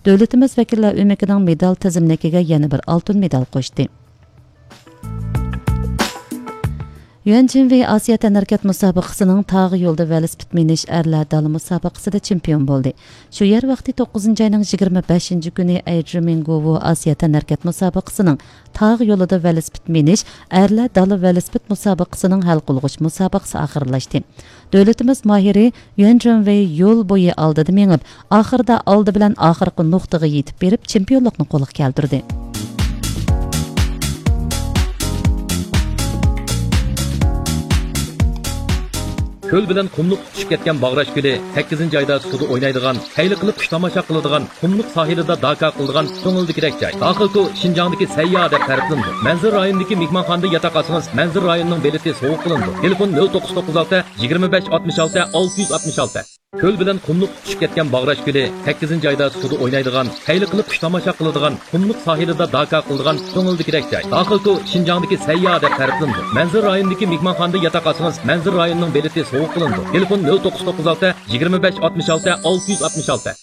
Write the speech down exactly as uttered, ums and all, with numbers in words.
دۆلىتىمىز ۋەكىللەر ئۆمىكىنىڭ مېدال تىزىملىكىگە يەنە بىر ئالتۇن مېدال قوشتى. يۈەن جىنۋېي ئاسىيا تەنھەرىكەت مۇسابىقىسىنىڭ تاغ يولىدا ۋېلىسىپىت مىنىش ئەرلەر دالا مۇسابىقىسىدە چېمپىيون بولدى. شۇ يەر ۋاقتى توققۇزىنچى ئاينىڭ يىگىرمە بەشىنچى كۈنى ئەيدرىمىنگوۋو ئاسىيا تەنھەرىكەت مۇسابىقىسىنىڭ تاغ يولىدا ۋېلىسىپىت مىنىش ئەرلەر دالا ۋېلىسىپىت مۇسابىقىسىنىڭ ھەل قىلغۇچ مۇسابىقىسى ئاخىرلاشتى. دۆلىتىمىز ماھىرى يۈەن جىنۋېي يول بويى ئالدىدا مېڭىپ، ئاخىرىدا ئالدى بىلەن ئاخىرقى نۇقتىغا يېتىپ بېرىپ، چېمپىيونلۇقنى قولغا كەلتۈردى. كۆل بىلەن قۇملۇق تۇتىشىپ كەتكەن باغراش كۆلى، سەككىزىنچى ئايدا سۇدا ئوينايدىغان، خەير قىلىپ خۇش تاماشا قىلىدىغان، قۇملۇق ساھىلىدا داكا قىلىدىغان كۆڭۈلدىكىدەك جاي. داخىلكو شىنجاڭدىكى سەيياھ دەپ تەرىپلىنىدۇ. مەنزىرە رايونىدىكى مېھمانخانىدا ياتاق ئالسىڭىز، مەنزىرە رايونىنىڭ بېلىتى سوۋغا قىلىنىدۇ. تېلېفون: نۆل توققۇز توققۇز ئالتە، يىگىرمە بەش ئاتمىش ئالتە، ئالتە يۈز ئاتمىش ئالتە. كۆل بىلەن قۇملۇق تۇتۇشۇپ كەتكەن باغراش كۆلى، سەككىزىنچى ئايدا سۇدا ئوينايدىغان، خەير قىلىپ خۇش تاماشا قىلىدىغان، قۇملۇق ساھىلىدا داكا قىلىدىغان كۆڭۈلدىكىدەك جاي. داخىلكو شىنجاڭدىكى سەيياھ دەپ تەرىپلىنىدۇ. مەنزىرە رايونىدىكى مېھمانخانىدا ياتاق ئالسىڭىز، مەنزىرە رايونىنىڭ بېلىتى سوۋغا قىلىنىدۇ. تېلېفون: نۆل توققۇز توققۇز ئالتە، يىگىرمە بەش ئاتمىش ئالتە، ئالتە يۈز ئاتمىش ئالتە.